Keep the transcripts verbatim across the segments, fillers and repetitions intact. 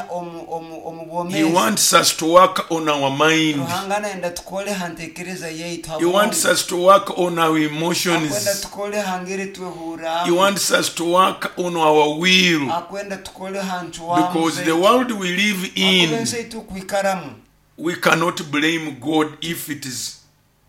omu omu omu He bwomeezi. wants us to work on our mind. Ruhanga nayenda tukole ha ntekereza yaitu ha He wants bwongo. us to work on our Akwenda emotions. tukole ha ngeri He twehurramu. wants us to work on our will. Akwenda tukole ha ncwamu Because the zaitu. world we live Akuba in, ensi eitukwikaramu we cannot blame God if it is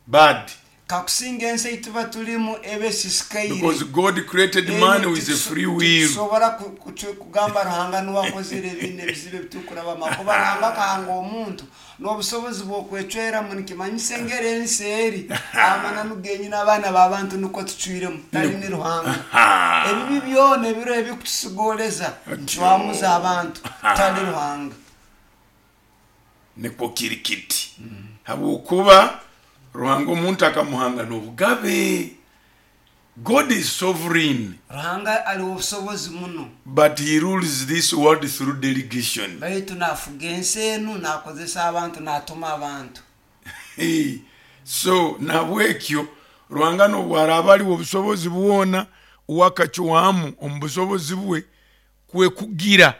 bad. Kakusinga ensi eituba tulimu ebe esisikaire. Because God created man with a free will. Tusobora ku- kucu- kugamba Ruhanga niwe akozere ebintu ebizibu ebitukurabamo kuba Ruhanga akahanga omuntu n'obusobozi bw'okwecweramu. Nikimanyisa engeri ensi eri amananu genyini abaana b'abantu nukwo tucwiremu tali ni Ruhanga. Ebibi byona ebiro ebikutusigoleza ncwamuza abantu tali Ruhanga. Nikwo kiri kiti, habwokuba Ruhanga omuntu akamuhanga n'obugabe. God is sovereign, Ruhanga aliwo obusobozi muno, but he rules this world through delegation. Baitu nafuga ensi enu nakozesa abantu, natuma abantu. Hey, so nabwekyo Ruhanga nobwaraaba aliwo obusobozi bwona, wakacwamu omu busobozi bwe kwe kugira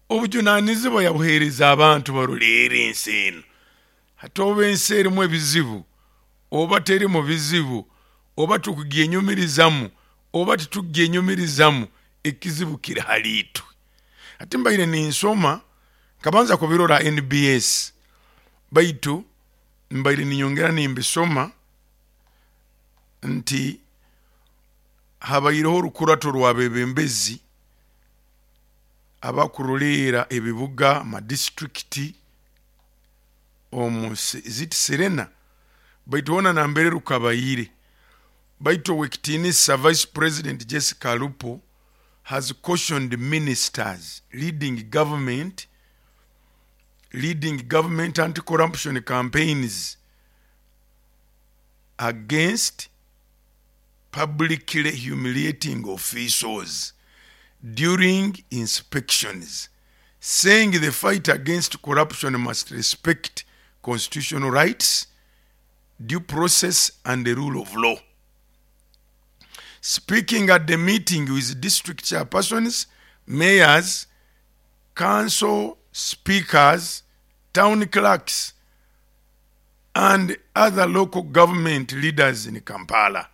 obujunanizibwa yabuheereza abantu baruleera ensi eno. Hati oba ensi erimu ebizibu oba teri mu bizibu, oba tukugyenyumirizamu oba titugyenyumirizamu, ekizibu kiri haliitwe. Ati mbaire ninsoma nkabanza kubirora N B S, baitu mbaire ninyongera nimbisoma nti habaireho orukurato rw'abebembezi abakuroleera ebibuga, amadisiturikiti omu ziti Serena, baitu hoona nambere rukabaire. Baitu owekitiinisa Vice President Jessica Alupo has cautioned ministers leading government leading government anti-corruption campaigns against publicly humiliating officials during inspections, saying the fight against corruption must respect constitutional rights, due process, and the rule of law. Speaking at the meeting with district chairpersons, mayors, council speakers, town clerks, and other local government leaders in Kampala,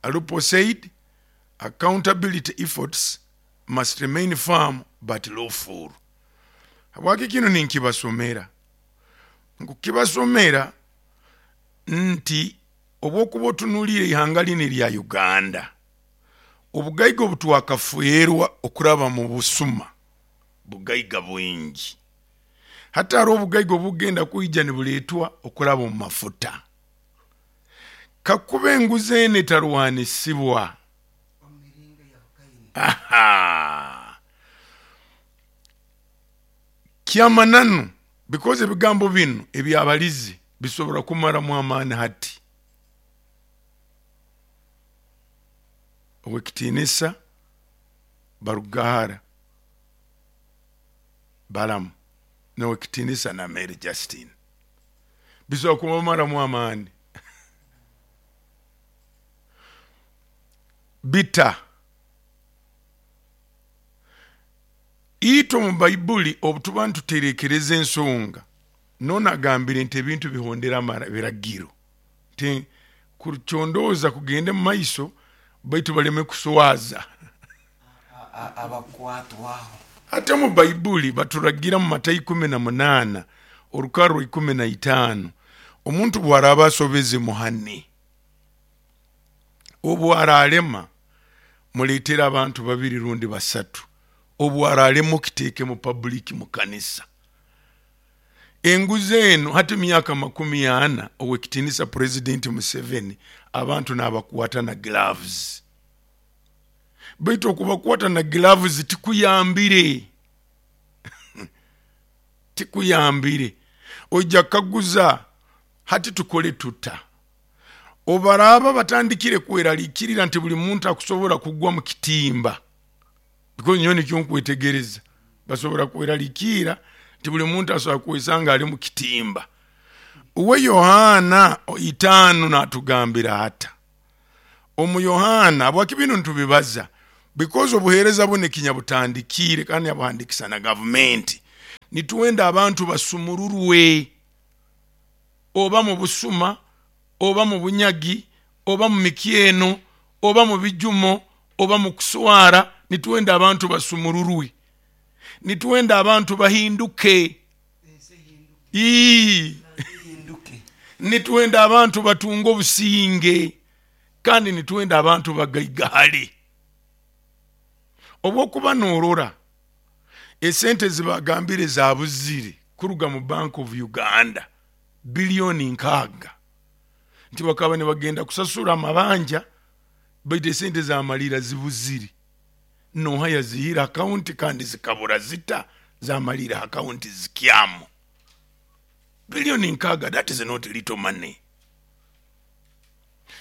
Alupo said accountability efforts must remain firm but lawful. Habwaki kino ninkibasomera? Nkukibasomera nti obwokuba otunuulire ihanga lino erya Uganda, obugaiga obutwakafuerwa okuraba mu busuma bugaiga bwingi. Hati hariho obugaiga obugenda kwija nibuleetwa okuraba omu mafuta. Kakuba enguzi eno etarwanisibwa, aha, kyamananu, because ebigambo bino ebyabalizi bisobora kumaramu amaani. Hati owekitiinisa Barugahara Balamu nowekitiinisa na Mary Justin bisobora kubamaramu amaani bita. Itwe omu Baibuli obutuba nituterekereza ensonga, nonagambire nti ebintu bihondera biragiro, nti kucondooza kugende mu maiso, baitu baleme kuswaza abakwatwaho. Ate mu Baibuli baturagira mu Matayo ikumi na munaana orukarro ikumi na itaano, omuntu bwaraba asobeze muhane, obu aralema muletere abantu babiri rundi basatu, obu aralema okiteeke mu public mu kanisa. Enguzi eno hati myaka makumi ana, owekitiinisa Purezidenti Museveni abantu n'abakwata na gloves, baitu okubakwata na gloves tikuyambire, tikuyambire. Ojja kaguza hati tukole tuta? Obaraba batandikire kweraliikirira nti buli muntu akusobora kugwa mu kitimba, because nyowe nikyo nkwetegereza, basobora kweraliikirira nti buli muntu asobora kwesanga ali mu kitimba. Uwe Yohana itaano natugambira ata omu Yohana? Habwaki bino ntubibaza? Because obuheereza buno ekinyabutandikiire kandi yabuhandikisa na gavumenti. Nituwenda abantu basumururwe, oba mu busuma, oba mu bunyagi, oba mu mikyeno, oba mu bijumo, oba mu kuswara. Nituwenda abantu basumururwe, nituwenda abantu bahinduke. Ii. Nituwenda abantu batunge obusinge, kandi nituwenda abantu bagaigahale. Obwokuba norora esente zibagambire zabuzire kuruga mu Bank of Uganda biliyoni nkaaga, nti bakaba nibagenda kusasura amabanja, baitu esente zamalira zibuzire. Noha yazihira akaunti kandi zikabura zita zamalira akaunti zikyamu biliyoni nkaaga. That is not little money.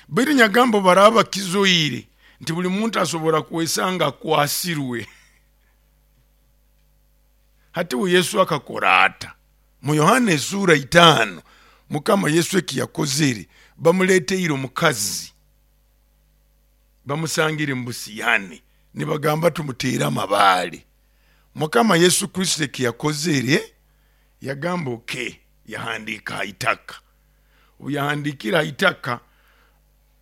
Baitu nyagambo baraba kizoire nti buli muntu asobora kwesanga akwasirwe. Hati we Yesu akakora ata? Mu Yohana esura itaano, Mukama Yesu ekiyakozere, bamuleteire omukazi, bamusangire mu busiyani, nibagamba tumuteere amabaale. Mukama Yesu Kristo ekiyakozere, yagamba oke, yahandika ha itaka. Obu yahandikire ha itaka,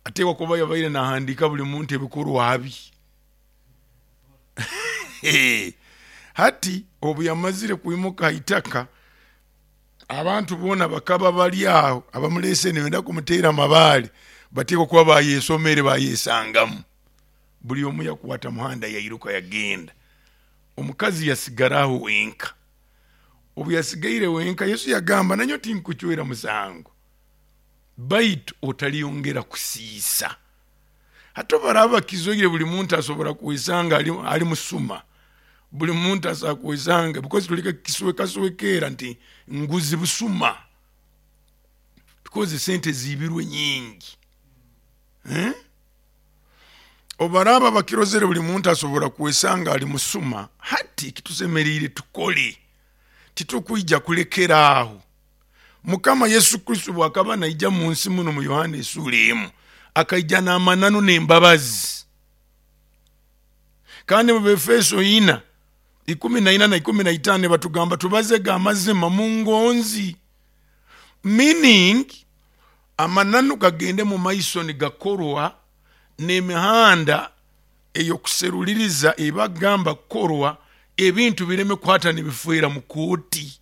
ateekwa kuba yabaire nahandika buli muntu ebikorwa bye. Hati obu yamazire kwimuka ha itaka, abantu boona bakaba bali aho abamulese nibenda kumuteera amabaale, bateekwa kuba bayesomere bayesangamu. Buli omu yakwata muhanda yairuka yagenda. Omukazi yasigaraho wenka. Obu yasigaire wenka, Yesu yagamba, nanyo tinkuchwera musango, baitu otaliyongera kusiisa. Hati baraba kizoire buli muntu asobora kwesanga ali, ali musuma, buli muntu asobora kwesanga, because tulika kisweka swekera nti nguzi busuma, because sente zibirwe nyingi. Eh? Obaraba bakirozere buli muntu asobora kwesanga ali musuma. Hati kitusemerire tukole, titukwija kulekera aho. Mukama Yesu Kristo bwakaba naija mu nsi muno mu Yohana esura emu, akaija n'amananu n'embabazi. Kandi mu Befeso ina ikumi na ina na ikumi na itaano batugamba tubazega amazima mu ngonzi, meaning amananu gagende mu maiso nigakorwa n'emihanda ey'okuseruliriza ebagamba kukorwa, ebintu bireme kwata nibifwera mu kooti,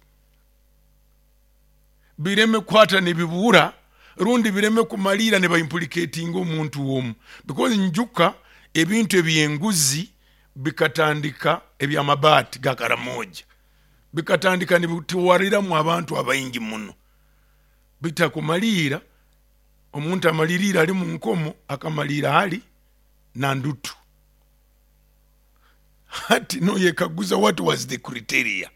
bireme kwata nibibura, rundi bireme kumalira nibaimplicatinga omuntu omu. Because njuka ebintu ebyenguzi bikatandika ebyamabaati ga Karamoja bikatandika nibituwariramu abantu abaingi muno, bitakumalira omuntu amalirira ali mu nkomo, akamalira hali na ndutu. Hati no yekaguza, what was the criteria?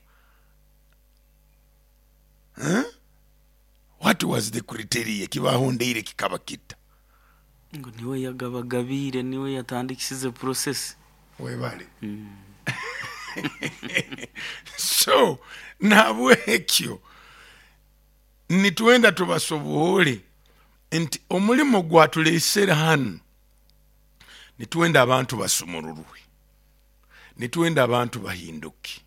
Huh? What was the criteria kibahondeire kikaba kita? Ngo niwe yagabagabire, niwe yatandikisize process. Webale. Mm. So nabwekyo nitwenda tubasoboole nti omulimo gwatulesere hano, nitwenda abantu basumururwe, nitwenda abantu bahinduke,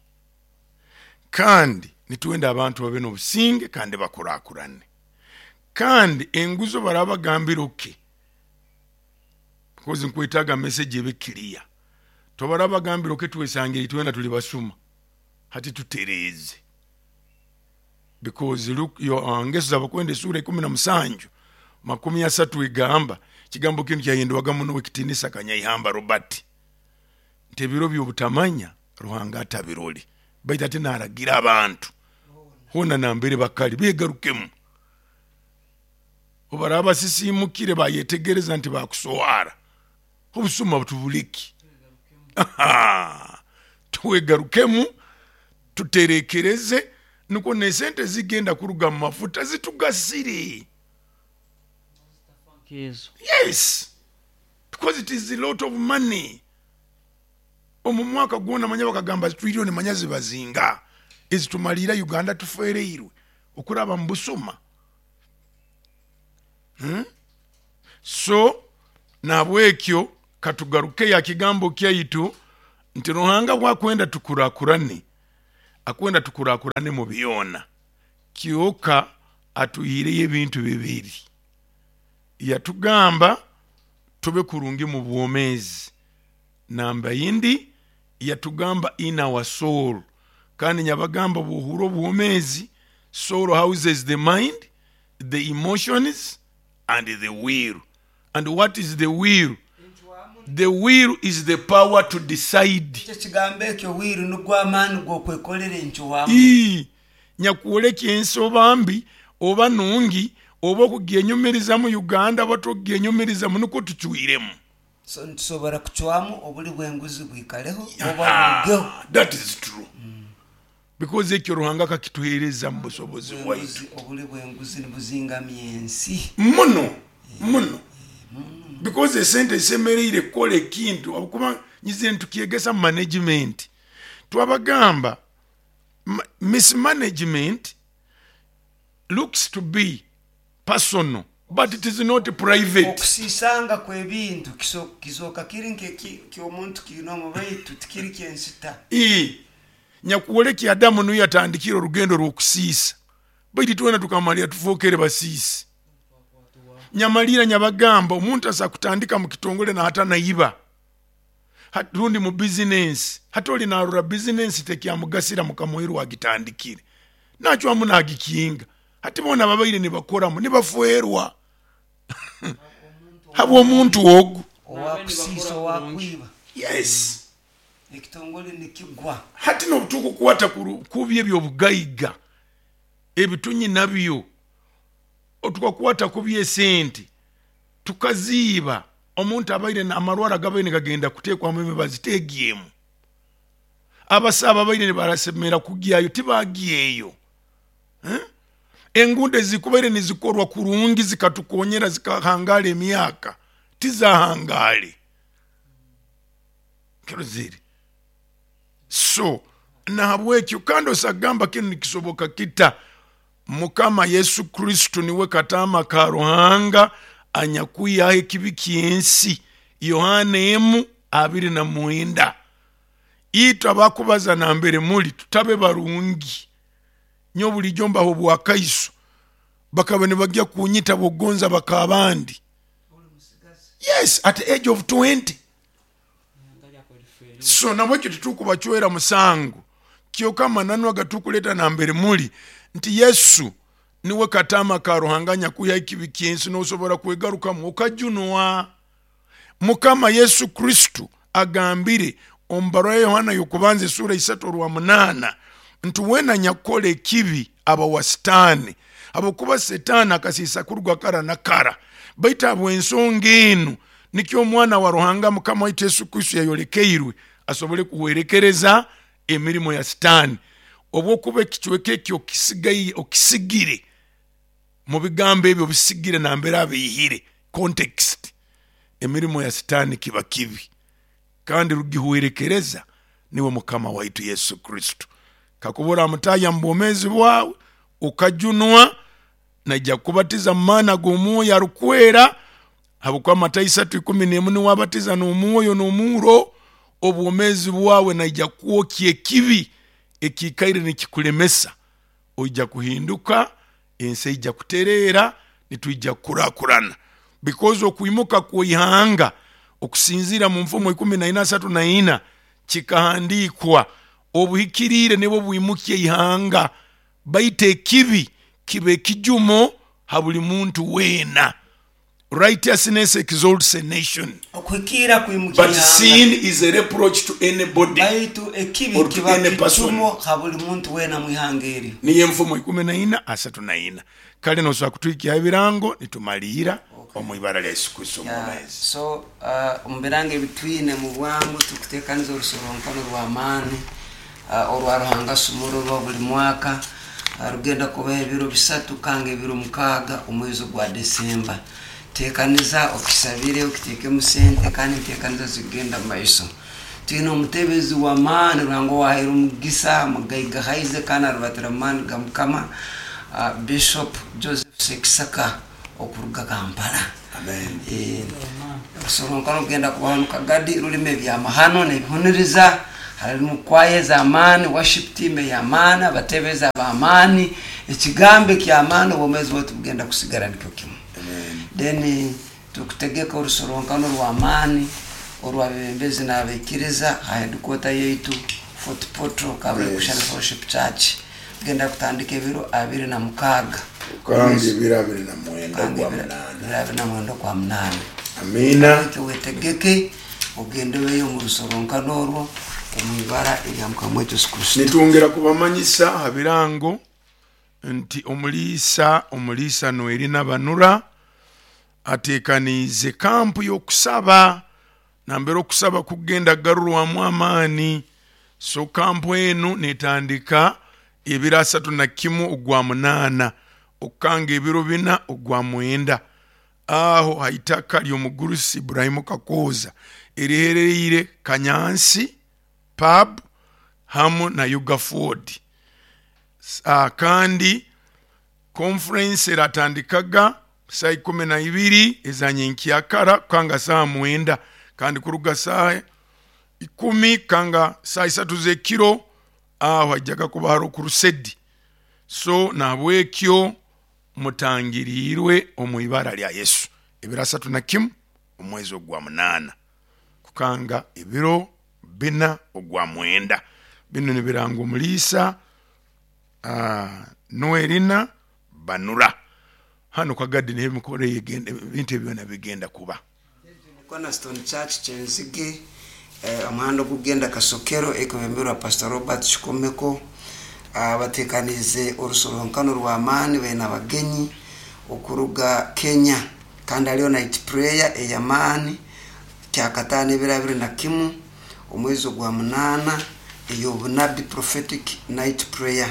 kandi nitwenda abantu babe n'obusinge kandi bakurakurane. Kandi enguzo barabagambira oke, because nkwetaga message ebe clear. Tobarabagambira oke twesangire twenda tuli basuma, hati tutereze. Because look, yo ngeso z'abakwenda esura ikumi na musanju makumi asatu igamba kigambo kinu kyayendwaga muno wekitinisa Kanyaihamba Robert, nti ebiro by'obutamanya Ruhanga atabiroli, baitu ate naragira abantu hona nambere bakali begarukemu. Obaraba sisimukire bayetegereza nti bakuswara obusuma butubuliki. Twegarukemu tuterekereze, nuko nesente zigenda kuruga mu mafuta zitugasire. Yes, because it is a lot of money. Omu mwaka gwona manya bakagamba trillion manya zibazinga ezitumalira Uganda tufereirwe okuraba mu busuma. Hmm? So nabwekyo katugaruke ya kigambo kyaitu nti Ruhanga bwakwenda tukurakurane, Akwenda tukurakurane mu byona. Kyoka atuhiireyo ebintu bibiri. Yatugamba tube kurungi mu bwomeezi. Namba yindi yatugamba in our soul. Kandi nyabagamba bwohura obwomeezi, soul houses the mind, the emotions and the will. And what is the will? The will is the power to decide. Ekyo kigambo ekyo will nugwo amaani g'okwekolera encwamu. Ii, nyakwoleka ensoba mbi oba nungi oba okugyenyumiriza mu Uganda oba tokugyenyumirizamu nukwo tucwiremu. So nitusobora kucwamu obuli bw'enguzi bwikaleho oba burugeho. Ah, that is true. Because ekyo Ruhanga akakituheereza mu busobozi bwaitu. Bw'enguzi- obuli bw'enguzi nibuzingamya ensi. Muno muno, because esente zisemereire kukola ekintu, habwokuba nyize ntukyegesa mu management. Twabagamba ma- mismanagement looks to be personal, but it is not private. Okusiisanga kw'ebintu kiso- kizooka kiri nk'ekyomuntu kiine baitu tikiri ky'ensita. Ii, nyakuwoleki Adamu niyo yatandikire orugendo rw'okusiisa, baitu twena tukamalira tufookere basiisi. Nyamalira nyabagamba omuntu asa kutandika mu kitongole nahata naiba Hat- rundi mu bizinensi, hati oli narora bizinensi tekyamugasira mukamwiru agitandikire nachwamu nagikinga. Hati bona babaire nibakoramu nibafuerwa habw'omuntu ogu. Owakusiisa, owakwiba. Yes. Ekitongole nikigwa. Hati nobutukukwata kubi ebyobugaiga ebitunyi nabyo, tukakwata kubi esente tukaziiba, omuntu abaire amarwara gabaire nigagenda kuteekwamu emibazi teegyemu, abasaaba abaire nibarasemera kugyayo tibagyeyo. Eh? Enguudo ezikubaire nizikorwa kurungi zikatukonyera zikahangala emyaka tizahangale kirozire. So nahabwekyo kandi osagamba kinu nikisoboka kita? Mukama Yesu Kristo niwe katama ka Ruhanga anyakwihaho ekibi ky'ensi, Yohana emu abiri na mwenda. Itwe abakubaza nambere muli tutabe barungi nyo bulijjo mbaho obwakaiso, bakaba nibajja kunyita bogonza bakabandi. Yes, at the age of twenty. So nabwekyo tetukubacwera musango, kyoka amananu agatukuleta nambere muli nti Yesu niwe katama ka Ruhanga nyakwiha ekibi ky'ensi, nosobora kwegarukamu okajunwa. Mukama Yesu Kristo agambire omu barua ya Yohana y'okubanza esura isatu orwa munaana nti wena nyakukola ekibi aba wa Sitaani, habwokuba Setaani akasiisa kuruga kara na kara. Baitu habw'ensonga enu nikyo omwana wa Ruhanga Mukama waitu Yesu Kristo yayolekeirwe asobole kuhwerekereza emirimo ya Sitaani. Obwokuba ekicweka ekyo okisigaye, okisigire mu bigambo ebyo bisigire nambere abiihire context, emirimo ya Sitaani kiba kibi kandi rugihwerekereza niwe Mukama waitu Yesu Kristo. Kakubura mutaya mu bwomeezi bwawe ukajunwa, naija kubatiza mu maana g'omwoyo arukwera, habwokuba Matayo isatu ikumi n'emu niwabatiza n'omwoyo n'omuuro, obwomeezi bwawe naija kwokya ekibi ekiikaire nikikulemesa, oija kuhinduka, ensi eija kutereera, nitwija kukurakurana. Because okwimuka kw'ihanga okusinziira mu nfumo ikumi na ina asatu na ina kikahandiikwa obuhikiriire nibwo bwimukya ihanga, baitu ekibi kiba ekijumo ha buli muntu weena. Righteousness exalts a nation, Okuhikiira kwimukya but ihanga. sin is a reproach to anybody baitu ekibi or to kiba any person. kijumo ha buli muntu weena mu ihanga eryo. Niyo enfumo ikumi na ina asatu na ina. Kale nosobola kutwikyaho ebirango nitumalira omu ibara lya Yesu Kristo Yeah, omwomeezi. so uh, omu birango ebitwine mu bwangu tukuteekaniza orusorronkano rw'amaani uh, orwa Ruhanga sumururwa buli mwaka. Uh, rugenda kubaho ebiro bisatu kanga ebiro mukaaga omwezi gwa Desemba. Teekaniza okisabire okiteekemu sente kandi nteekaniza zigenda mu maiso. Twine omutebezi w'amaani Ruhanga owahaire omugisa mugaiga haize kandi arubatira mu maani ga Mukama, uh, Bishop Joseph Sekisaka okuruga Kampala. Amen. Eh, orusorronkano rugenda kubaho mu Kagadi, rurimu ebyamahano n'ebihuniriza. Harimu kwaya z'amaani, worship team ey'amaani, abatebezi ab'amaani, ekigambo eky'amaani, obwomeezi bwaitu bugenda kusigara nikyo kimu. Then tukutegeka orusoronkanano rw'amaani orw'abebembezi n'abaikiriza ha headquarter yaitu Fort Portal Kabale Yes. Christian Fellowship Church. Tugenda kutandika ebiro abiri na mukaaga. Kandi ebiro abiri na mwenda Kandi gwa ebiro munaana. ebiro abiri na mwenda kwa munaana. Amina. Ekyo wetegeke ogende obeyo omu rusoronkano orwo omu ibara erya Mukama waitu Yesu Kristo. Nitwongera kubamanyisa ha birango nti omuliisa omuliisa Noelina Banura ateekaniize kampu y'okusaba nambere okusaba kugenda kugarurwamu amaani. So kampu enu netandika ebiro asatu na kimu ogwa munaana okukanga ebiro bina ogwa mwenda aho haitaka ly'omugurusi Ibrahimu Kakooza erihereire Kanyansi pub hamu na Ugaford. Uh, kandi conference eratandikaga saa ikumi na ibiri ezanyenkyakara kukanga saa mwenda, kandi kuruga saa ikumi kanga saa isatu z'ekiro aho hajjaga kuba hariho kurusedi. So nahabwekyo mutangiriirwe omu ibara lya Yesu ebiro asatu na kimu omwezi ogwa munaana kukanga ebiro bina ogwa mwenda. Bino nibiranga omuliisa uh, Noelina Banura. Hano kagadde n'emikolo egenda ebintu ebyo byonna bigenda kuba. Cornerstone Church Kyenzige, eh, omuhanda ogugenda Kasokero ekwebemberwa Pastor Robert Kikomeko. Ah, bateekaniize orusoronkano rw'amaani baine abagenyi okuruga Kenya, kandi hariyo night prayer ey'amaani kyakataano ebiro abiri na kimu omwezi ogwa munaana ey'obunabi prophetic night prayer.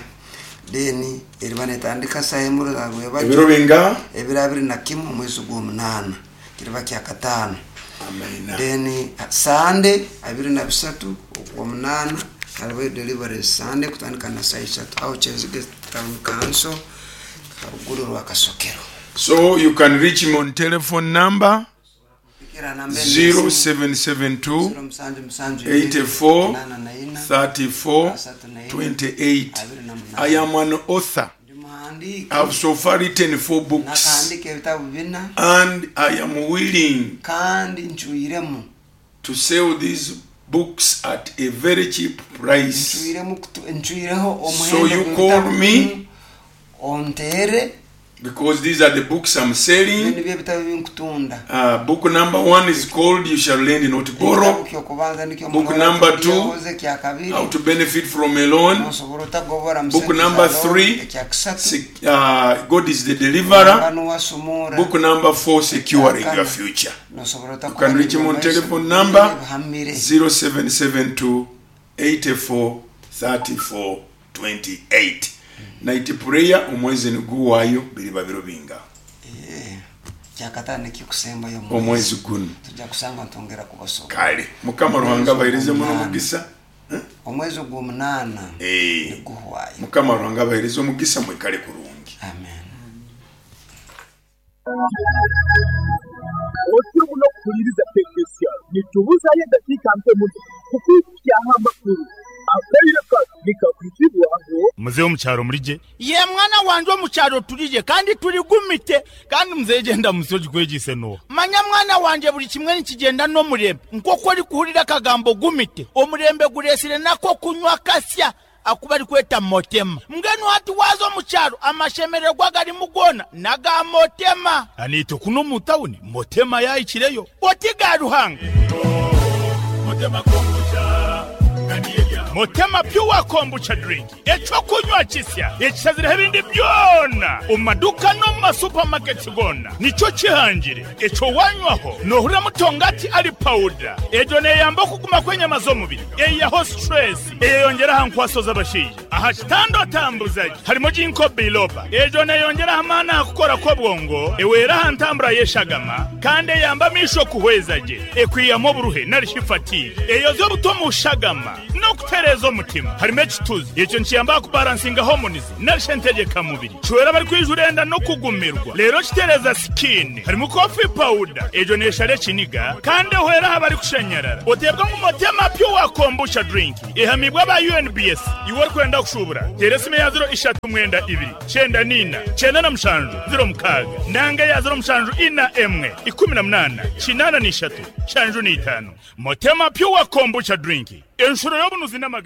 Then eriba netandika saa emu za rwebagyo. Ebiro binga? Ebiro abiri na kimu omwezi ogw'omunaana kiriba kyakataano. Amina. Then Sunday abiri na bisatu ogw'omunaana hariho deliverance Sunday kutandika na saa isatu aho Kyenzige Town Council haruguru rwa Kasokero. So you can reach him on telephone number Pikira namba zero seven seven two zero musanju musanju eighty-four nana na ina thirty-four asatu na ina twenty-eight. abiri na I munana. am an author. Ndi muhandiki. I've so far written four books. Nakahandika ebitabu bina. And I am willing kandi ncuiremu to sell these books at a very cheap price. Ncuiremu kutu- ncuireho So omuhendo you gw'ebitabu call me binu, ontere because these are the books I'm selling. Bino nibyo ebitabo binkutunda. Uh, book number one is called You Shall Lend Not Ekitabo Borrow. ky'okubanza nikyo Book Munola number two, Tugiyoboze, kya kabiri. How to Benefit from a Loan. Nosobola otagobora mu Book sente number za loan, three, ekya kusatu. sec-, uh, God is the Deliverer. Ruhanga nuwasumura. Book number four, Securing Ekyakana. Your Future. Nosobola You otakuba can reach him on n'ebyo telephone maiso, number ebihamire. zero seven seven two eighty-four thirty-four twenty-eight. Night prayer omwezi niguwayo biriba biro binga. Eh, kyakataano ekikusembayo omwezi. Omwezi guno. Tujja kusanga ntongera kubasoma. Kale Mukama Ruhanga abahereze muno omugisa. Omwezi ogw'omunaana Eh. niguhwayo. Mukama Ruhanga abahereze omugisa mwikale kurungi. Amen. Otyo muno kuhuliriza Tekesiya nitubuzayo eddakiika nto muno kukwikyaho amakulu akaire kano nikakwizibwaho. Muzeeyi omukyalo mulije. Ye mwana wanje omukyalo tulije kandi tuligumite kandi muzeeyi genda musi ogikwegise no. Manya mwana wanje buli kimwe nikigenda n'omurembe nk'oku orikuhurira akagambo gumite omurembe gureesire nako kunywa kasya akuba arikweta motema mbwenu hati waza omukyalo amashemererwa garimu goona naga motema. Aniite kuno mu tawuni motema yayikireyo oti ga Ruhanga. Motema kombucha Motema pure kombucha drink ekyokunywa kisya ekishazireho ebindi byona omu maduka no mu masupamaketi gona nikyo kihangire ekyo wanywaho nohurira mutongati ari powder egyo neyamba okuguma kw'enyama z'omubiri eyaho stress eyeyongera aha nkwaso z'abashaija aha kitanda otambuzaje harimo ginkgo biloba egyo neyongera amaani aha kukora kw'obwongo ewera aha ntambura y'eshagama kandi eyamba amaisho kuhweza gye ekwiyamu oburuhe nari shifatigue eyoza obuto mu shagama no kutera Kitereza omutima. Harimu ekituzi ekyo nikiyamba kubalansinga hormones narisha entegeka mubiri. Kiwera bari kwijura enda no kugumirwa. Rero kitereza skin. Harimu coffee powder ejo neshare ekiniga kandi ehwera aha bari kushanyarara. Otebwa ngu Motema Pure Kombucha drink ehamibwa aba U N B S. Iwe orikwenda kushubura, tera esimu ya zero ishatu mwenda ibiri cyenda nina cyenda na mushanju zero mukaaga nanga ya zero mushanju ina emwe ikumi na munana kinana n'ishatu shanju n'itano. Motema Pure Kombucha drink, enshuro y'obunuzi n'amagara.